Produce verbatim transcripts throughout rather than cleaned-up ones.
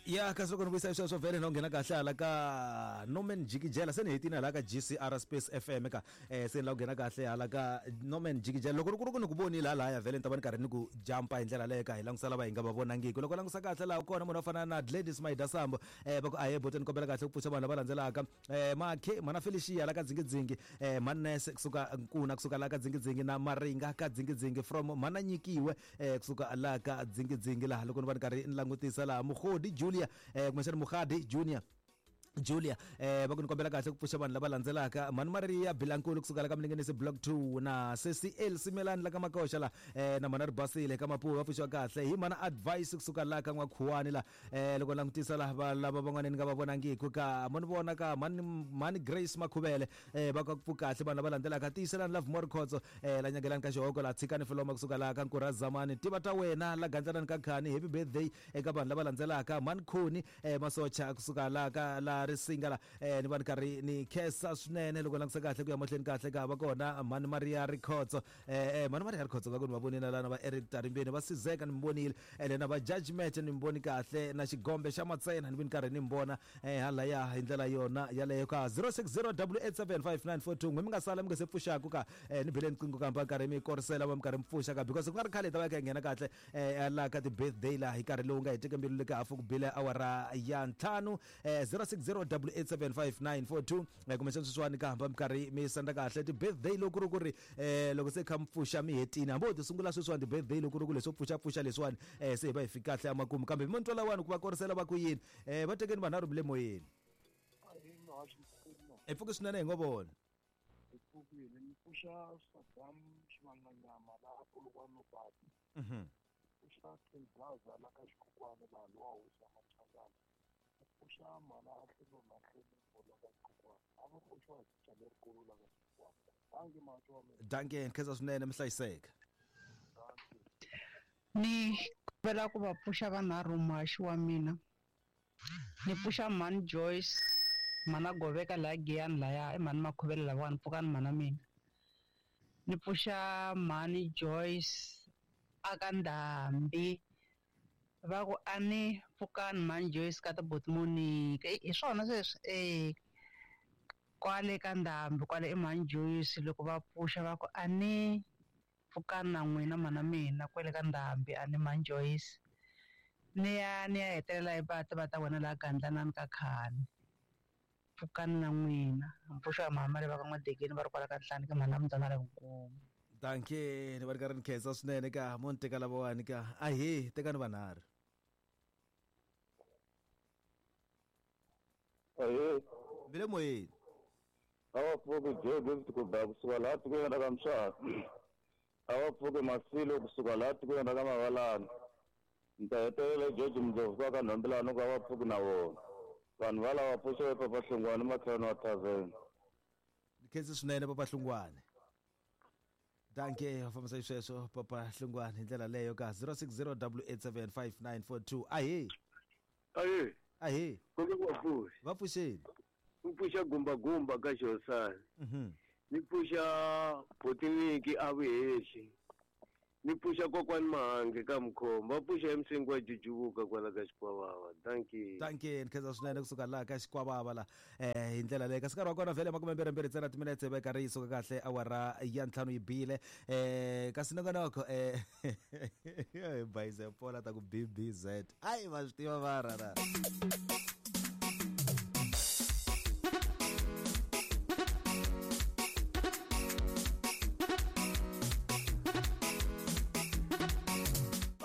Ya kasi loko ni vuyisa sweswo vhele no nghena kahle hala ka Norman Jikijela se ni hetini hala ka G C R Space F M ka eh se ni la ku nghena kahle hala ka Norman Jikijela loko ri ku ni ku vonile halaya vhele ni ta va ni karhi ni ku jumpa hi ndlela leyo ka hi langusa lava hi nga va vonangiki loko langusa kahle laha kona munhu wo fana na Gladys Maida Sambo eh va ku ahe boteni kombela kahle ku pfuxa vanhu lava landzelaka eh Makhe mana Felicia la ka Dzingidzingi eh Manese kusuka Nkuna kusuka la ka Dzingidzingi na Maringa ka Dzingidzingi from mana nyikiwe eh kusuka la ka Dzingidzingi laha loko ni va ni karhi ni langutisa laha Mukhodi Julia eh kumbexana Mukhadi Junior Julia eh va ku ni kombela kahle ku pfuxa vanhu lava landzelaka Mani Maria Bilankulu kusuka la ka Mlingenisi Block two na Sesi El Simelani la ka Makoxa la eh na Mana Ribasile ka Mapuwa va pfuxiwa kahle hi Mana Advice kusuka la ka N'wakhuwani la eh loko langutisa la va lava van'wana ni nga va vonangiki ka mo ni vona ka Mani Mani Grace Makhuvele eh va ka ku kahle vanhu lava landzelaka tiyiselani Love More Khotso eh la nyangelani ka Xihoko la tshikani Filoma kusuka la ka Nkura Zamani tiva ta wena la gandzelani ka Khani happy birthday eka vanhu lava landzelaka Mani Khoni eh Masocha kusuka la ka la Risinga la eh ni va ni karhi ni khensa swinene loko langutisa kahle ku ya mahlweni kahle ka va kona Mani Maria Rikhotso eh eh Mani Maria Rikhotso ka ku ni va vonile lana va Eric Tarimbeni va Sizeka ni mi vonile ene na va Judgment ni mi voni kahle na Xigombe xa Matsena ni vi ni karhi ni mi vona eh halaya hi ndlela yona yaleyo ka zero six zero eight seven five nine four two n'we mi nga sala mi nga se pfuxaku ka eh ni bele nqingho kambe karhi mi korisela va mi karhi mi pfuxa ka because ku nga ri khale hi ta va kha hi nghena kahle eh la ka ti-birthday laha hi nkarhi lowu nga heteke mbilu le ka hafu ku bile awara ya ntlhanu eh zero six zero eight seven five nine four two eh kumbexana sweswiwani ka hamba mi karhi mi senda kahle ti-birthday loko ku ri ku ri eh loko se kha mi pfuxa mi hetini hambi ho ti sungula sweswiwani ti-birthday loko ku ri ku leswo pfuxapfuxa leswiwani eh se hi va hi fika kahle emakumu kambe mi ni twela wani ku va korisela va ku yini eh va tekeni vanharhu mi le moyeni hi pfuki swinene hi ngo vona hi pfukile ni pfuxa Saddam Xivanganyama laha Polokwane Pati mhm pfuxa Tingaza la ka Xikhukhwana laha lowa hosi ya Machangana pfuxa mana Hlelo na Hlelo la ka Xikhukhwana a va pfuxiwa hi titya lerikulu la ka Xikhukhwana danke matsho wa mina danke nkhensa swinene mi hlayiseka danke Ni kombela ku va pfuxa vanharhu muhaxi wa mina ni pfuxa Mhani Joyce Mhana Goveka laha Giyani laya i Mhani Makhuvele lavawani pfukani mhana mina ni pfuxa Mhani Joyce aka Ndhambi va ku a ni pfukani Mhani Joyce ka tibuti Monica hi swona sweswi e kwale ka Ndhambi kwale i Mhani Joyce loko va pfuxa va ku a ni pfukani na n'wina mhana mina kwale ka Ndhambi a ni Mhani Joyce ni ya ni ya hetelela hi va tiva ta wena laha Gandlanani ka Khani pfukani na n'wina mpfuxo wa mhama le va ka N'wadegeni va ri kwala ka Nhlani ka mhana Mdzana le Vukulu danke ni va ri karhi ni khensa swinene ka mo ni teka lavawani ka ahee tekani vanharhu Ahee, mi le moyeni a va pfuki Joe Gift ku ba kusuka laha tikweni ra ka Mshaka. A va pfuki Masilo kusuka laha tikweni ra ka Mavalani. Ni ta hetelela George Mndlovu ka ka Nhombelani ku a va pfuki na vona. Vanhu va lava pfuxiwe Papa Hlongwane makhelwani wa tavern. ni khensi swinene Papa Hlongwane danke va fambisa xisweswo Papa Hlongwane hi ndlela leyo ka zero six zero eight seven five nine four two ahee Aye, ahee konke ku va pfuxa. va pfuxeni Ni pfuxa gumba gumba ka Xihosana. mhm Ni pfuxa Botiniki a Vuhehli. Ni pfuxa kokwani Mahange ka Mkhombo. Va pfuxa emsingi wa Jujuvuka kwala ka Xikwavava. Dankie. danke ni khensa swinene kusuka laha ka Xikwavava la eh hi ndlela leyo kasi nkarhi wa kona vhele makume mbirhi mbirhi ntsena timinetse va karhi yi suka kahle awara ya ntlhanu yi bile eh kasi nongonoko eh hi bayize pola ta ku B B Z ayi va swi tiva va rara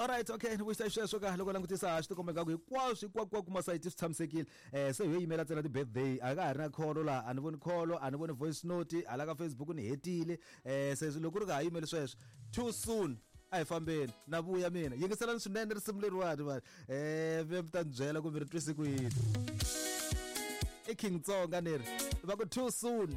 Alright, okay, ni vuyisa xisweswo ka loko langutisa swi tikomba ingaku hinkwaswo hinkwako masayiti swi tshamisekile eh se hi yo yimela ntsena ti-birthday a ka ha ri na kholo laha a ni voni kholo a ni voni voice note hala ka Facebook ni hetile eh se loko ku ri ka ha yimeli sweswo too soon a hi fambeni na vuya mina yingiselani swinene risimu leriwani vanhu eh mi ta ni byela kumbe ri twise ku yini i King Tsonga ni ri va ku too soon.